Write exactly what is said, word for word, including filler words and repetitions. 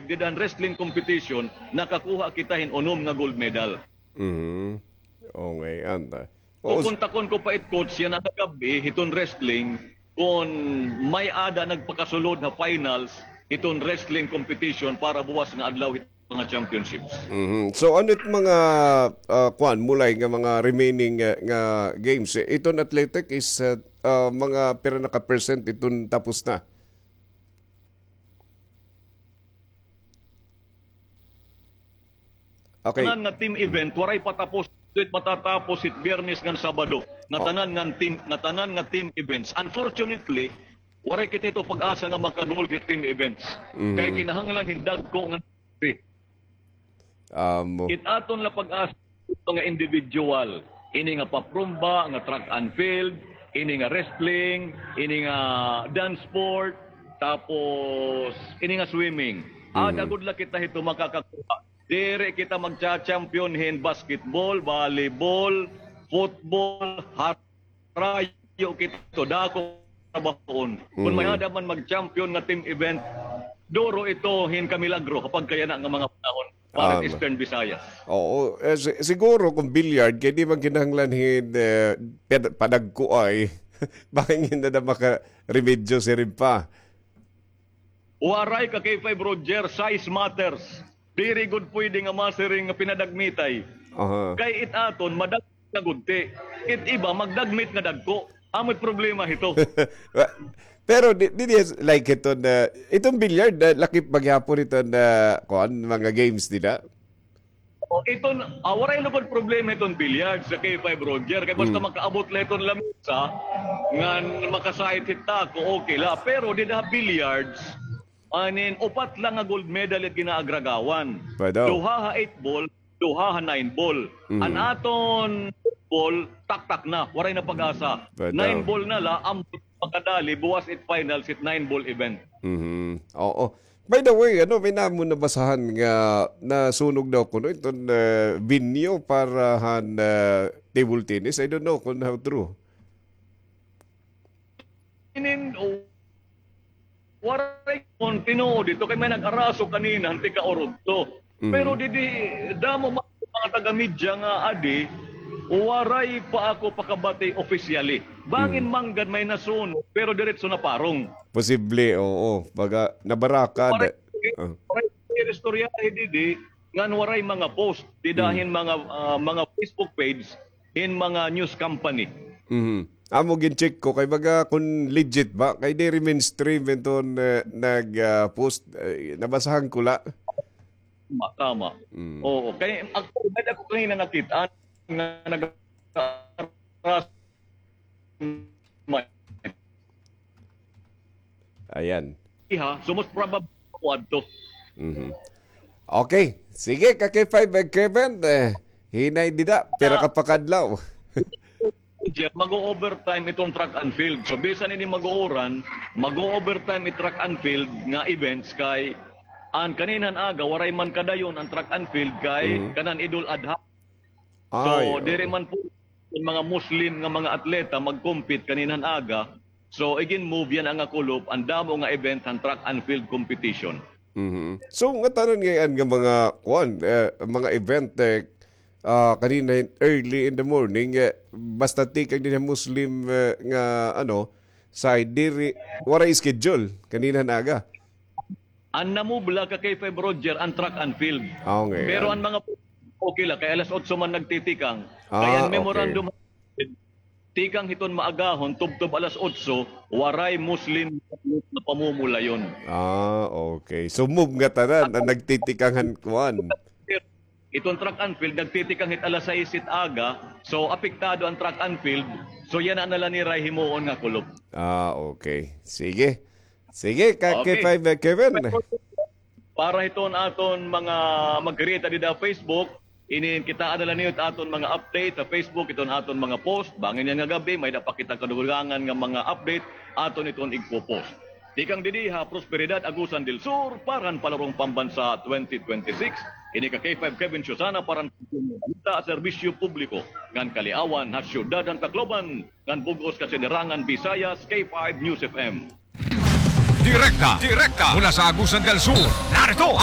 dida han wrestling competition, nakakuha kita hin unom nga gold medal. Mhm. Okay, anta. Oo, s- Kukontakon ko pa it coach yana nga gab-i hiton wrestling, kon may-ada nagpakasulod ha finals hiton wrestling competition para buwas nga adlaw hit mga championships. Mhm. So, ano it mga, ah, kuan, Mulay, nga mga remaining, ah, nga games? Eh, iton athletic is, ah, ah, mga pira na ka percent iton tapos na? Okay. Tanan nga team event, waray pa tapos. Diri matatapos hit Biyernes ngan Sabado. Nga Oh. tanan nga team, nga tanan nga team events. Unfortunately, waray kita hito pag-asa nga makagold hit team events. Mhm. Kay kinahanglan hin dagko nga Amo. It aton la pag-asa nga individual, ini nga paprumba, nga track and field, ini nga wrestling, ini nga dance sport, tapos ini nga swimming. Ada gud la kita hito makakakuha. Diri kita magcha-champion hin basketball, volleyball, football, har- rayo kita, dako trabahoon. Kon may-ada man mag-champion nga team event, duro ito hin kamilagro ha pagkayana nga mga panahon para sa Eastern Visayas. Oo, eh, si-, siguro kung billiard, kay di man kinahanglan hin, eh, pad-, padagko ay. Bangin na na makaremedyo siring pa. Waray ka K five Roger, size matters. Diri gud pwede nga masiring nga pinadagmitay. Aha. Kay it aton, madag-, nga gudti. It iba, magdagmit nga dagko. Amo it problema hito. Pero di, di, di, like ito na, itong billiard, na lakip maghapon ito na, kuan, mga games nila. O, iton, ah, waray lugod problema iton billiards sa K five Roger. Kay basta makaabot la iton lamesa, ngan makasait hit dako, okay la. Pero dida billiards, anin, upat la nga gold medal it ginaagragawan. Duha ha eight ball, duha ha nine ball. An aton ball, taktak na, waray na pag-asa. Nine ball na la, an makadali, buwas it finals, it nine ball event. Mhm. Oo. By the way, ano, may namo nabasahan nga nasunog daw kuno iton, eh, venue para han, eh, table tennis. I don't know kung how true. Inin, o, waray kon tinuod ito kay may nag-araso kanina, han tika-Urugto. Pero didi, damo man mga taga-media nga adi, waray pa ako pakabati officially. Bangin man gad may nasunog, pero diretso na parong. Posible, oo. Baga, nabaraka. Waray, waray istorya didi, ngan waray mga post, dida hin mga, ah, mga Facebook page, hin mga news company. Mhm. Amo gin-check ko kay baga kun legit ba, kay diri mainstream iton, eh, nag, ah, post, eh, nabasahan ko la. Tama, tama. Oo, kay actually, may ako kanina nakita nga nag-, Ayan. Iha, so most probably, ako adto. Mhm. Okay. Sige, ka K five, eh, Kevin, eh, hinay dida, pira ka pa kadlaw. Jeff, mag-o-overtime itong track and field. So, bisan ini mag-uuran, mag-o-overtime it track and field nga events kay an kaninhan aga, waray man kadayon an track and field kay kanan Idul Adha. So, diri man po an mga Muslim nga mga atleta mag-compete kaninhan aga. So, igin-move yana nga kulop an damo nga event han track and field competition. Mhm. So, ngatanan ngay-an nga mga, kuan, eh, mga event, eh, ah, kanina early in the morning, eh, basta tikang dinhi Muslim, eh, nga, ano, side, diri, waray schedule kaninhan aga. An na-move la ka K five Roger, an track and field. Ah, okay. Pero an mga, okay la, kay alas otso man nagtitikang. Kay an memorandum, tikang hiton maagahon, tubtob alas otso, waray Muslim nga pamumulayon. Ah, okay. So, move ngatanan an nagtitikang han kuan. Iton track and field, nagtitikang hit alas sais hit aga. So, apektado an track and field. So, yana na la nira himuon nga kulop. Ah, okay. Sige. Sige, ka K five, eh, Kevin. Para hiton aton mga magkirita dida ha Facebook, ini kitaa na la niyo it aton mga update ha Facebook, iton aton mga post. Bangin yana nga gab-i, may-ada pa kita kadugangan nga mga update, aton iton igpo-post. Tikang didi ha Prosperidad, Agusan del Sur, para han Palarong Pambansa twenty twenty-six. Ini ka K five Kevin Susana para han Balita, Serbisyo Publiko ngan Kaliawan ha Syudad han Tacloban, ngan bug-os ka sinirangan Visayas, K five News F M. Direkta, direkta mula sa Agusan del Sur, narito